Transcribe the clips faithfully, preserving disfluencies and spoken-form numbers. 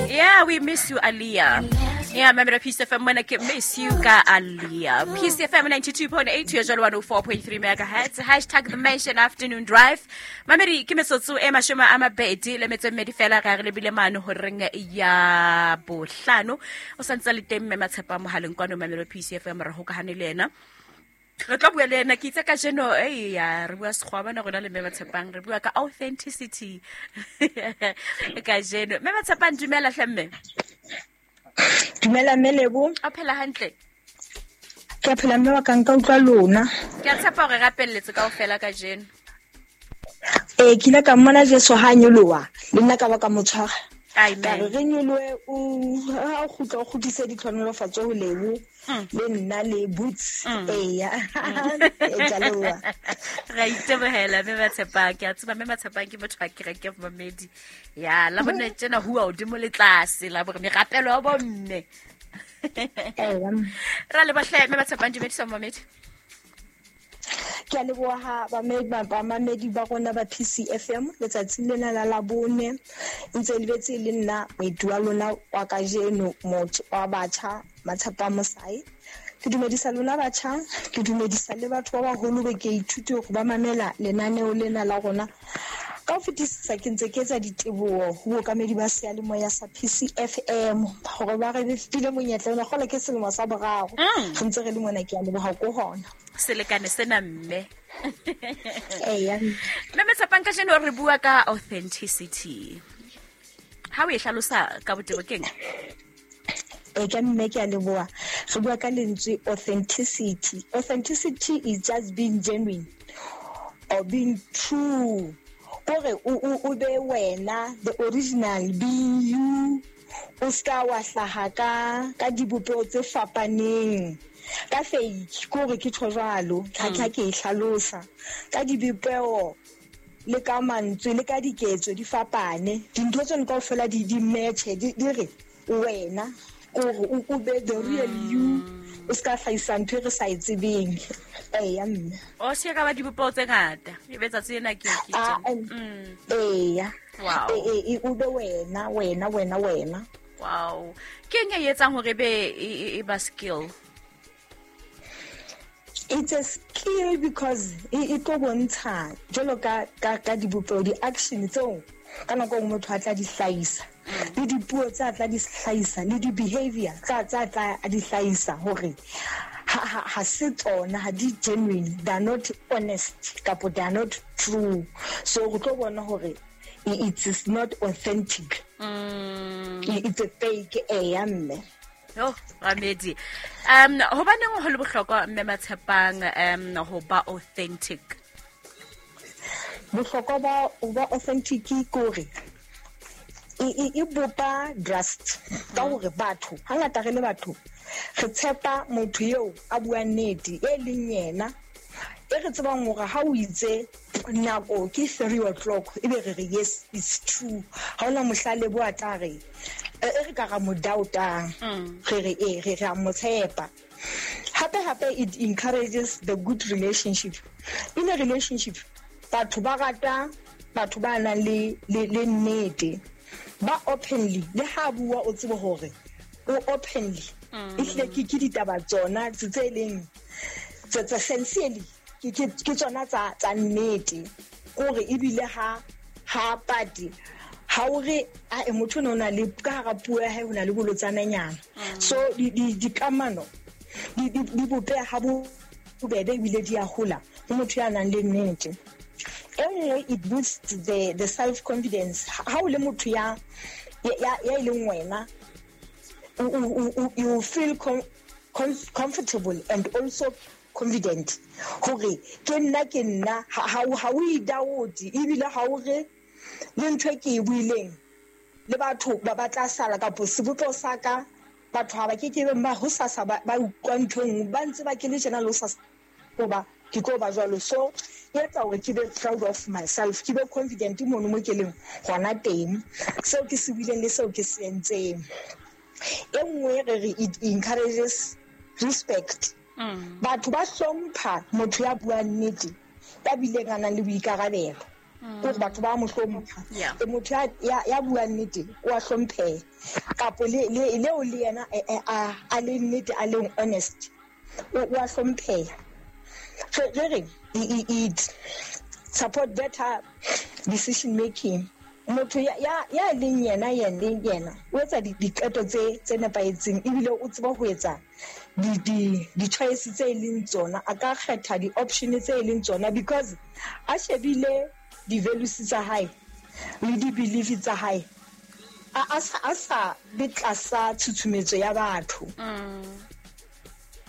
Yeah, we miss you, Aaliyah. Yeah, member P C F M mona ke miss you ka Aaliyah. P C F M ninety-two point eight, one oh four point three megahertz. Hashtag the Mansion Afternoon Drive. Mamedi ke metsotso e mashome a mabedi le metso e mmedi fela ga re lebile mane ho reng ya bohlano. O santse le teng mme Matshepa mohaleng kwano mamelo P C F M re hokahane le yena. Re tlo bua le ena ke itse ka jeno e ya re bua sekgowa bana rona le mme Matshepang re bua ka authenticity ka jeno. Mme Matshepang dumela hle mme. Dumela mme Lebo. O phela hantle? Ke a phela mme wa ka nka utlwa lona. Ke a tshepa hore rapelletse kaofela ka jeno. Eh ke ile ka mmona Jesu ha nyoloha le nna ka ba ka mo tshwara. Amen. Ka re re nyolohe o ha o kgutla o kgutlise ditlhonolofatso ho Lebo le nna le Boots. Eya. E jaloa. Re itebohela mme Matshepang. Ke a tseba mme Matshepang ke motho wa kereke momedi. Ya la bone tjena hua hodimo le tlase la bore merapelo ya bomme. Eya. Ra le bohle mme Matshepang dumedisa momedi. Ke a leboha bamamedi ba rona ba P C F M letsatsing lena la Labone ntse le betse le nna moeti wa lona wa kajeno motho wa batjha Matshepa Mosai. Ke dumedisa lona batjha, ke dumedisa le batho ba baholo be ke ithute hore ba mamela lenaneo lena la rona. Ka ho fetisisa ke ntse ke etsa diteboho ho bookamedi ba seyalemoya sa P C F M hore ba re file monyetla ona kgola ke selemo sa boraro re ntse re le mona. Ke a leboha ko hona selekane sena mme. Eya. Mme Matshepang ka jeno re bua ka authenticity. Ha o e hlalosa ka botebo keng? E ka mme ke a leboha. Re bua ka lentswe authenticity. Authenticity is just being genuine or being true. Kore o o be wena, the original being you. O ska wa hlaha ka ka dibopeho tse fapaneng. Ka fake kore ke tjho jwalo, ha ke ke e hlalosa. Ka dibopeho le ka mantswe le ka diketso di fapane. Dintho tseno kaofela di di match di di re wena kore o be the real you. O ska hlahisa ntho e re sa e tsebeng. Eya mme. O se ka ba dibopeho tse ngata. E be tsatsi lena ke ke tjena. Eya. Wow. E e o be wena wena wena wena. Wow. Ke eng e etsang hore be e ba skill? It's a skill because e tlo bontsha jwalo ka ka ka dibopeho di-action tseo ka nako e nngwe motho a tla di hlahisa le dipuo tsa tla di hlahisa le di-behavior tsa tsa tla di hlahisa hore ha ha ha se tsona, ha di genuine, they are not honest kapo they are not true. So re tlo bona hore it is not authentic. Mm. It's a fake. Eya mme. Yo, Ramedi. Um hobaneng ho le bohlokwa mme Matshepang um ho ba authentic? Bohlokwa ba ho ba authentic ke hore e e bopa trust ka hore batho hangata re le batho re tshepa motho eo a buang nnete e leng yena e re tsebang hore ha o itse nako ke three o'clock e be re re yes it's true. Ha ona mohlale bo a tla re e re ka ra mo doubtang re re e re re a mo tshepa. Hape hape it encourages the good relationship. In a relationship batho ba rata batho ba nang le le nnete ba openly le ha bua o tsebe hore o openly ehlile ke ke ditaba tsona tse leng tse tse sincerely ke ke tsona tsa tsa nnete kore ebile ha ha pati ha o re a motho o na le ka hara puo ya hae ho na le bolotsananyana. So di dikamano di di bopeha ha bo bobebe ebile di a hola ho motho ya nang le nnete. E nngwe it boosts the the self confidence. Ha o le motho ya ya ya leng wena you feel com, com, comfortable and also confident hore ke nna ke nna ha ha o idoubt ebile ha o re le ntho e ke e buileng le batho ba ba tla sala kapo sebopeho sa ka batho ha ba ke ke ba ho sasa ba utlwa ntho e nngwe ba ntse ba ke le tjena le ho sasa ba ke tlo ba jwalo. So e etsa hore ke be proud of myself, ke be confident mono mo ke leng hona teng seo ke se buileng le seo ke se entseng. E nngwe re re it encourages respect. Batho ba hlompha motho ya buang nnete ya bileng a nang le boikarabelo. Gore batho ba mo hlompha. E motho ya ya bua nnete o a hlompheha. Kapo le le leo le yena a a le nnete a leng honest. O a hlompheha. So re it support better decision making. Motho ya ya ya leng yena yena yena o etsa diqeto tse tse nepahetseng ebile o tseba ho etsa di di di choice tse leng tsona, a ka kgetha di option tse leng tsona because a shebile di values tsa hae le di beliefs tsa hae, a a sa sa be tlasa tshutshumetso ya batho.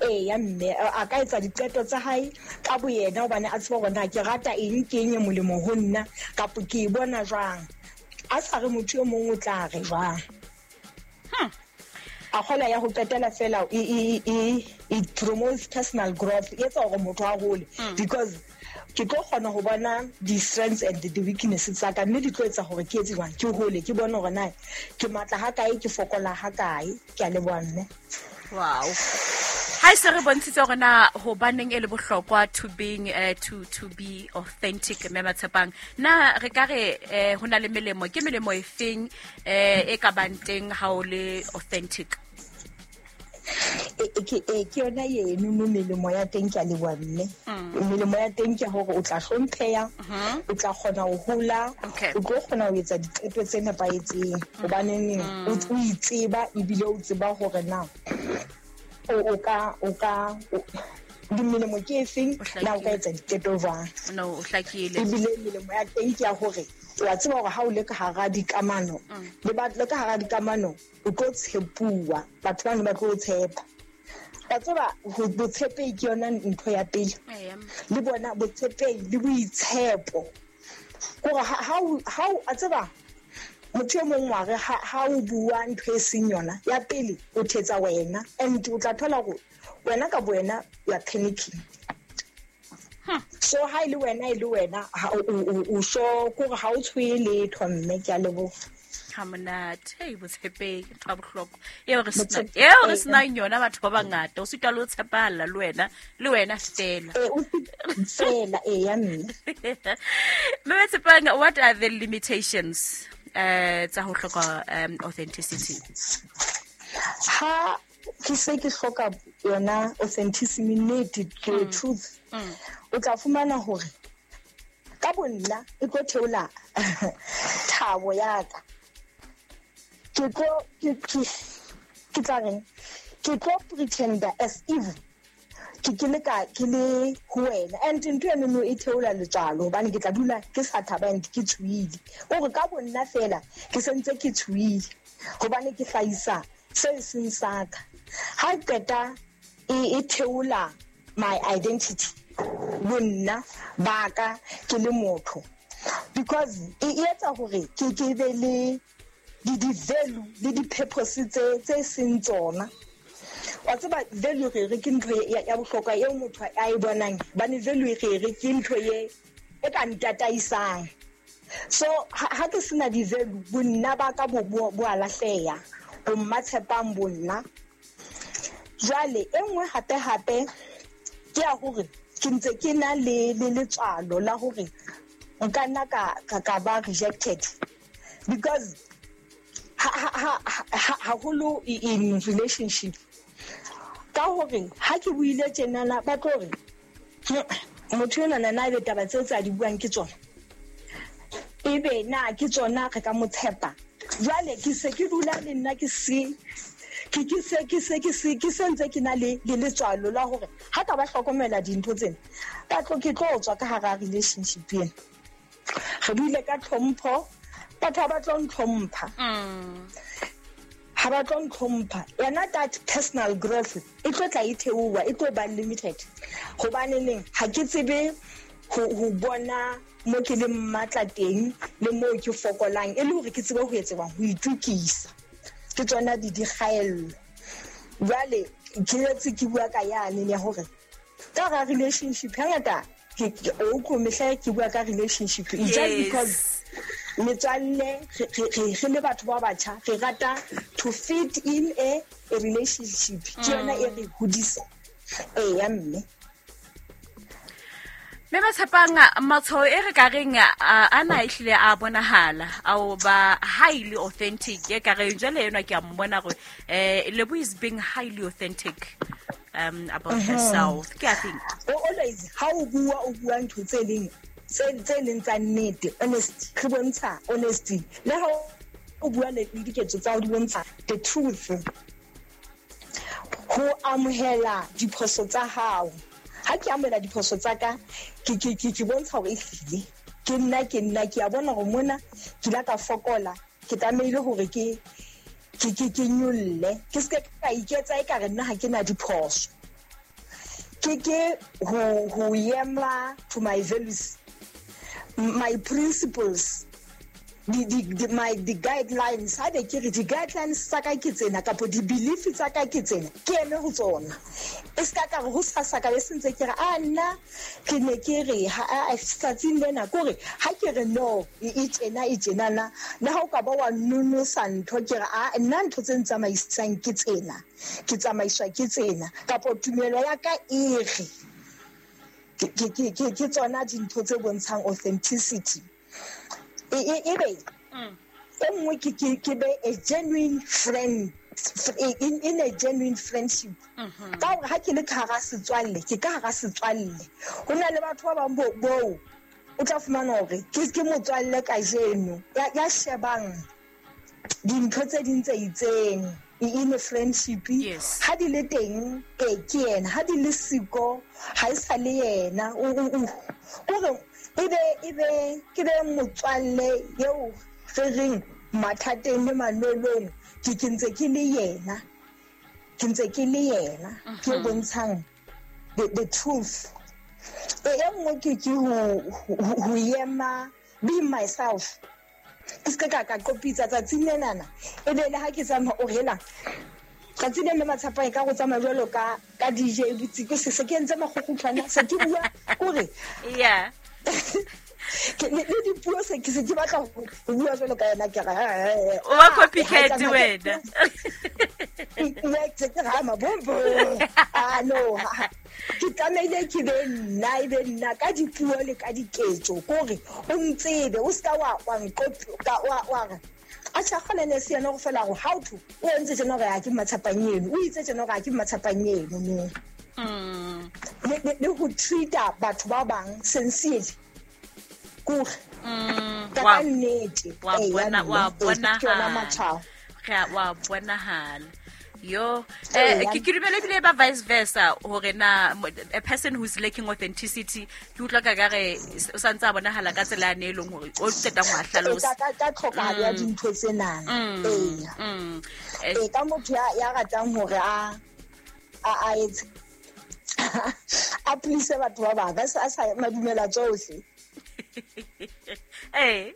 Eh ya mme a ka etsa diqeto tsa hae ka boyena hobane a tseba hore na ke rata eng, ke eng e molemo ho nna kapa ke e bona jwang, a sa re motho e mong o tla re jwang. A kgola ya ho qetela fela e e it promotes personal growth, e etsa hore motho a hole because ke tlo kgona ho bona di strengths and the weaknesses tsa ka, mme di tlo etsa hore ke etse jwang, ke hole, ke bone hore na ke matla ha kae, ke fokola ha kae. Ke a leboha mme. Wow. Ha se re bontshitse hore na hobaneng e le bohlokwa to being uh, to to be authentic mme Matshepang, na re ka re eh, ho na le melemo, ke melemo e feng eh, e ka bang teng ha o le authentic? E ke e ke yona eno mo melemo ya teng, ke a leboha mme. Melemo ya teng ke hore o tla hlompheha, o tla kgona ho hola, o tlo kgona ho etsa diqeto tse nepahetseng hobaneng o itseba ebile o tseba hore na o ka o ka di melemo ke efeng, na o ka etsa diqeto jwang. No, o hlakile. Ebile melemo ya teng ke ya hore wa tseba hore ha o le ka hara dikamano le ba le ka hara dikamano o tlo tshepuwa, batho ba ne ba tlo tshepa. Wa tseba botshepehi ke yona ntho ya pele, le bona botshepehi le boitshepo hore ha ha a tseba motho e mong wa re ha o bua ntho e seng yona ya pele o thetsa wena, and o tla thola hore wena ka boena you are panicking. So ha ile wena ile wena o so kore ha o tshwe letho mme, ke a leboha. Ha monate, hey botshepehi ke ntho ya bohlokwa eo re sena eo re senang yona batho ba bangata, o sitwa le ho tshepahalla le wena le wena fela fela e ya mme. Mme Matshepang, what are the limitations eh tsa ho hloka um, authenticity? Ha ke se ke hloka yona authenticity, nnete, the truth, o tla fumana hore ka bonna e tlo theola thabo ya ka. Ke tlo ke ke tla reng, ke tlo pretender as if ke ke le ka ke le ho wena, and ntho eno no e theola letswalo hobane ke tla dula ke sa thaba and ke tshuile hore ka bonna fela ke sentse ke tshuile hobane ke hlahisa se seng sa ka. Ha qeta e theola my identity, bonna ba ka ke le motho, because e etsa hore ke ke be le di di value le di purpose tse tse seng tsona. Wa tseba value re re ke ntho ya bohlokwa eo motho a e bonang, bane value re re ke ntho ye e ka ntataisang. So ha ke sena di value, bonna ba ka bo bo a lahleha, bo Mmatshepang bonna. Jwale e nngwe hape hape ke ya hore ke ntse ke na le le letswalo la hore nka nna ka ka ba rejected because ha ha haholo in relationship, ka hore ha ke buile tjenana ba tlo re motho ena na na be taba tseo tsa di buang ke tsona, ebe na ke tsona re ka mo tshepa. Jwale ke se ke dula le nna ke se ke ke se ke se ke se ke sentse ke na le le letswalo la hore ha ka ba hlokomela dintho tsena ka tlo ke tlo tswa ka hara relationship ena. Re buile ka tlhompho, batho ba tlo ntlhompha, ha ba tlo ntlhompha yona that personal growth e tlo tla e theoha, e tlo ba limited hobane neng ha ke tsebe ho bona mo ke le matla teng le mo ke fokolang, e le hore ke tsebe ho etsewang ho itukisa. Ke tsona di di kgaello. Jwale ke etse ke bua ka yane ya hore ka ga relationship hangata ke o ko mehla ke bua ka relationship it's just because metswalle re le batho ba batjha re rata to fit in a relationship, ke yona e re hodisa. Ee ya mme. Mme Matshepang, matshwao e re ka reng a na ehlile a bonahala ao ba highly authentic e ka reng jwale enwa ke a mmona gore eh Lebo is being highly authentic um about mm -hmm. herself. Ke a think always ha o bua o bua ntho tse leng tse leng tsa nnete, honesty, re bontsha honesty le ha o bua le diketso tsa o di bontsha the truth. Ho amohela diphoso tsa hao. Ha ke amohela diphoso tsa ka ke ke ke ke bontsha hore ehlile ke nna ke nna ke a bona hore mona ke la ka fokola, ke tlamehile hore ke ke ke ke nyolle, ke se ka iketsa e ka re nna ha ke na diphoso. Ke ke ho ho yema to my values, my principles, di di di my the guidelines. Ha be ke re di guidelines tsa ka ke tsena kapa di belief tsa ka ke tsena, ke eme ho tsona. E ska ka re ho sasa ka be sentse ke re a nna ke ne ke re ha tsatsing lena kore ha ke re no e tsena e tsena na le ha o ka ba wa nonosa ntho ke re a nna ntho tse ntsamaisang ke tsena, ke tsamaiswa ke tsena kapa tumelo ya ka e re ke ke ke ke tsona dintho tse bontshang authenticity. E e be e nngwe ke ke ke be a genuine friend in in a genuine friendship. Ka hore ha ke le ka hara setswalle, ke ka hara setswalle. Ho na le batho ba bang bo bo o tla fumana hore ke ke motswalle kajeno ya ya shebang dintho tse ding tse itseng in a friendship. Ha di le teng e ke yena, ha di le siko ha e sa le yena. O o ebe ebe ke be motswalle eo re reng mathateng le manolong ke ke ntse ke le yena, ke ntse ke le yena, ke bontshang the, the truth. E nngwe ke ke ho ho yema be myself. Ke se ka ka qopitsa tsatsing lenana e be le ha ke tsamaya o hela tsatsi le Matshepang e ka go tsamaya jwalo ka ka D J botsi se se ke entse makgokgotlhwana se ke bua kore yeah ke le dipuo se ke se ke batla ho bua jwalo ka yena ke re o wa copycat wena nna ke ke ra mabombo ah no ke tlamehile ke be nna e be nna ka dipuo le ka diketso kore o ntsebe o ska wa wa nqopi ka wa wa re a tshakgole ne se yena go fela go how to o entse tjena gore a ke Matshepang eno, o itse tjena gore a ke Matshepang eno no. Mm. Le le ho treata batho ba bang sincerely kore mm ka nnete wa bona wa bona ha wa bonahala yo eh ke ke dumela ebile ba vice versa hore na a person who's lacking authenticity ke utlwa ka ka re o santse a bonahala ka tsela ya ne eleng hore o qetang ho hlalosa ka ka tlhokahalo ya dintho tsena. Ee ee ka motho ya ya ratang hore a a a etse a please batho ba bang a sa madumela tsohle. Eh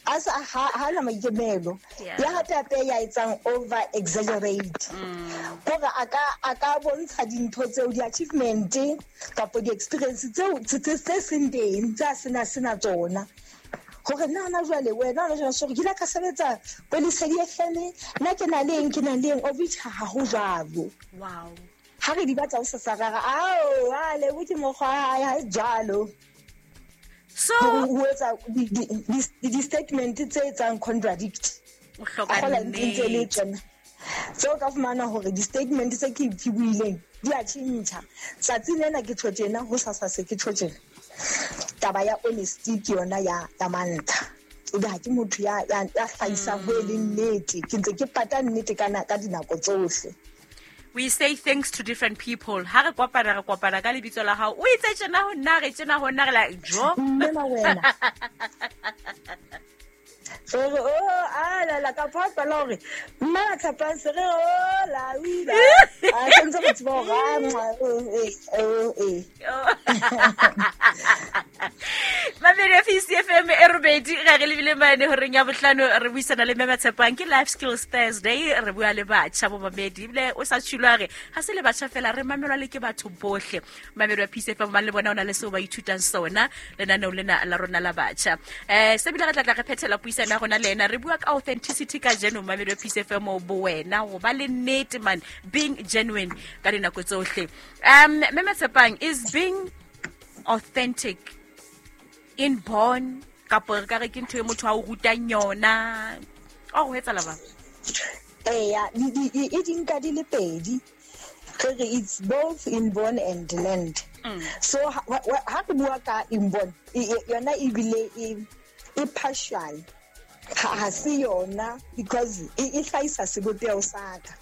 a sa ha na maikemelo ya hape hape ya etsang over exaggerate kore a ka a ka bontsha dintho tseo di achievement kapa di experience tseo tse tse seng teng tsa sena sena tsona hore nna na jwale wena na jwale so ke la ka sebetsa Lesedi F M nna ke na leng ke na leng of which ha ho jwalo. Wow ha re di batla ho sasarara ao a le bo ke mokgwa ha jwalo. So ho etsa di statement tse etsang contradict o hloka nnete tseo ka fumana hore di statement tse ke ke buileng di a tjhentjha tsatsi lena ke tjho tjena ho sasa se ke tjho tjena. Taba ya honesty ke yona ya ya mantlha ebe ha ke motho ya ya hlahisang ho e leng nnete, ke ntse ke pata nnete kana ka dinako tsohle. We say thanks to different people. Ha re kopana re kopana ka lebitso la hao. O itse tjena ho nna re tjena ho nna re la jo. Mme wena. So oh a la la ka papa la hore mma Matshepang se re o la o ila. A sentse go tseba hore eh eh. Mamedi ya P C F M e robedi ga re lebile mane horeng ya bohlano re buisana le Mme Matshepang ke Life Skills Thursday re bua le batjha bo mamedi ebile o sa tshilwa re ha se le batjha fela re mamelwa le ke batho bohle. Mamedi ya P C F M ba le bona ona le seo ba ithutang sona lenaneo lena la rona la batjha. Eh se bile re tla tla re phethela puisano ya rona le ena re bua ka authenticity ka jeno mamedi ya P C F M bo wena go ba le nnete man being genuine ka dinako tsohle. Um Mme Matshepang is being authentic inborn kapo re ka re ke ntho e motho a o rutang yona o go etsa laba? Eya, e di nka di le pedi. Re it's both inborn and learned. Mm. So ha re bua ka inborn yona ebile e e partial, ha se yona because e hlahisa sebopeho sa ka.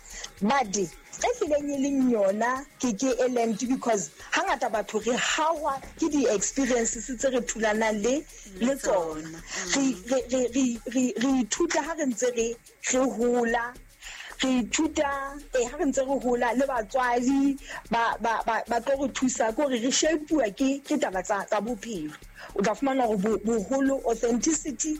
But e hlileng e leng yona ke ke e learned because hangata batho re hawa ke di experiences tse re thulanang le le tsona. Re re re re re ithuta ha re ntse re re hola, re ithuta e ha re ntse re hola le batswadi ba ba ba tlo re thusa ke hore re shape-uwa ke ke taba tsa tsa bophelo. O tla fumana hore boholo authenticity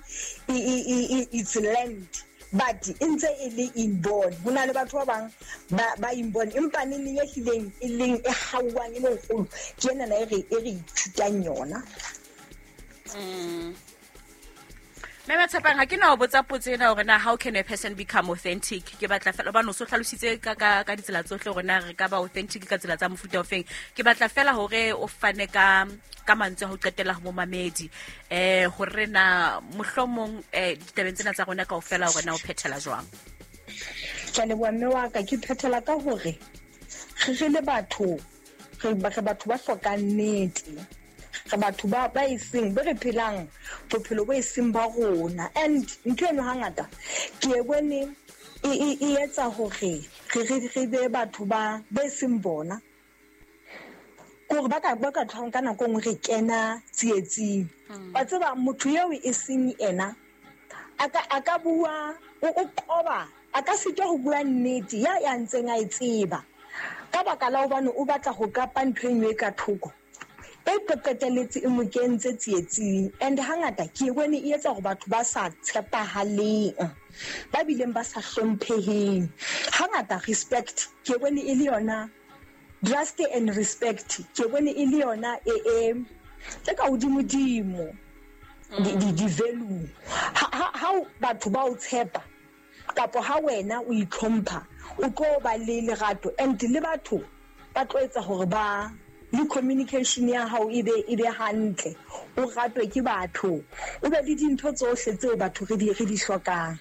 it's learned, but e ntse e le inborn. Ho na le batho ba bang ba ba inborn empa neng e hlileng e leng e hauwang e le kgolo ke ena na e re e re ithutang yona. Mm. Mme Tshepang, ha ke na ho botsa potso ena hore na how can a person become authentic. Ke batla fela hobane o so hlalositse ka ka ka ditsela tsohle hore na re ka ba authentic ka tsela tsa mofuta ofeng. Ke batla fela hore o fane ka ka mantswe a ho qetela ho momamedi eh hore na mohlomong eh ditabeng tsena tsa rona kaofela hore na o phethela jwang. Ke a leboha mme wa ka, ke phethela ka hore re re le batho re batho ba hlokang nnete, re batho ba ba eseng be re phelang bophelo bo eseng ba rona. And ntho eno hangata ke e bone e e etsa hore re re re be batho ba be seng bona, kore ba ka ba ka tlhong ka nako nngwe re kena tsietsing. Wa tseba motho eo e seng ena a ka a ka bua o o qoba, a ka sitwa ho bua nnete ya ya ntseng a e tseba ka baka la hobane o batla ho kapa ntho e nngwe ka thoko e qeteletse e mo kentse tsietsing. And hangata ke bone e etsa hore batho ba sa tshepahaleng, ba bileng ba sa hlompheheng. Hangata respect ke bone e le yona, trust and respect ke bone e le yona e e e ka hodimodimo di di di value. Ha ha batho ba o tshepa kapo ha wena o itlhompha o tlo ba le lerato, and le batho ba tlo etsa hore ba le communication ya hao e be e be hantle, o ratwe ke batho, o be le dintho tsohle tseo batho re di re di hlokang.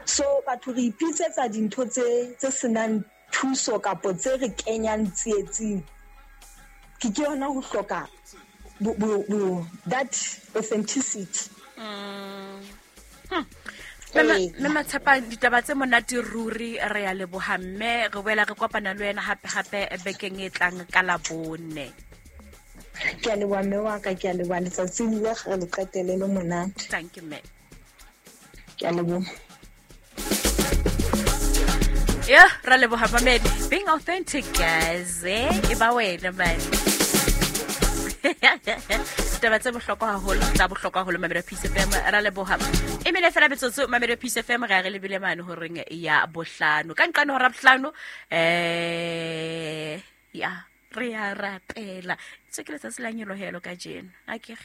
So batho re ipitsetsa dintho tse tse senang thuso kapo tse re kenyang tsietsing. Ke ke yona ho hloka bo, bo, bo, that authenticity. Mm. Hmm. Mme Matshepang, ditaba tse monate ruri, re ya leboha mme re boela re kopana le wena hape hape bekeng e tlang ka Labone. Ke a leboha mme wa ka, ke a leboha letsatsing le re le qetele le monate. Thank you mme. Ke a leboha. Yeah, ra leboha mamedi. Being authentic guys, eh, e ba wena man. Taba tse bohlokwa haholo, tsa bohlokwa haholo Mamelodi Peace F M, ra leboha. E mene fela metsotso Mamelodi Peace F M re a re lebile mane horeng ya bohlano. Ka nqane hora bohlano eh ya re ya rapela. Tse ke letsatsi la nyolohelo kajeno. Akere.